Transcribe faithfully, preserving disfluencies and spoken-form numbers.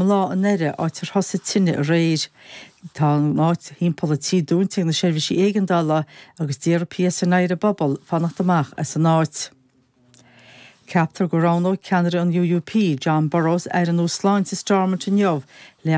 lá i nDoire áit ar thosaigh tine aréir. Tá an áit timpeall an tí dúnta ag na seirbhísí éigeandála agus d'iarr PSNI ar an bpobal fanacht amach as an áit. Ceaptar go roghnóidh ceannaire an UUP, Jon Burrows, aire nua sláinte Stormont inniu le